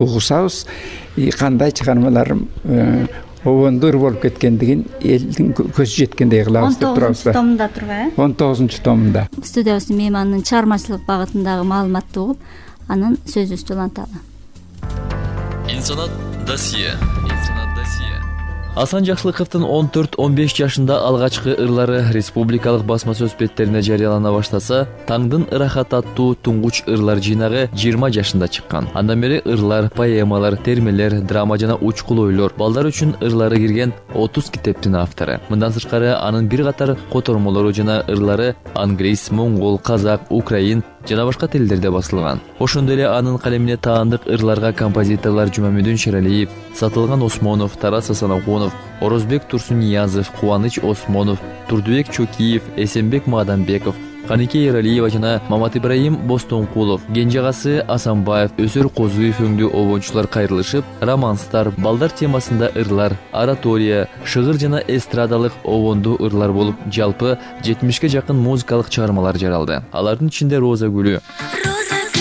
угушабыз. Кандай чыгармалар обондур болуп кеткендигин элдин көзү жеткендей кылабыз деп турабыз. 19 томунда турбайбы? 19 томунда. Студиябыздын мейманынын чыгармачылык багытындагы маалыматты угуп, анан сөзүбүздү уланталы. Инсанат досье. Асан Жакшылыковдун 14-15 жашында алгачкы ырлары республикалык басма сөз беттерине жарыялана баштаса, Таңдын ырахат аттуу туңгуч ырлар жыйнагы 20 жашында чыккан. Андан бери ырлар, поэмалар, термелер, драма жана учкул ойлор, балдар үчүн ырлары кирген 30 китептин автору. Мындан сырткары анын бир катар котормолору жана ырлары англис, моңгол, казак, украин жана башка тилдерде басылган. Ошондой эле анын калемине таандык ырларга композиторлор Жумамедин Шералиев, Сатылган Осмонов, Тарас Асанахунов, Орозбек Турсунниязов, Кубаныч Осмонов, Турдубек Чокиев, Эсенбек Мадамбеков, Канике Ералиева жана Мамат Ибраим Бостонкулов, Кенжегасы Асанбаев, Өсөр Козуев өңдүү обончулар кайрылышып, романстар, балдар темасында ырлар, оратория, шыгыр жана эстрадалык обондуу ырлар болуп, жалпы 70ге жакын музыкалык чыгармалар жаралды. Алардын ичинде Роза гүлү,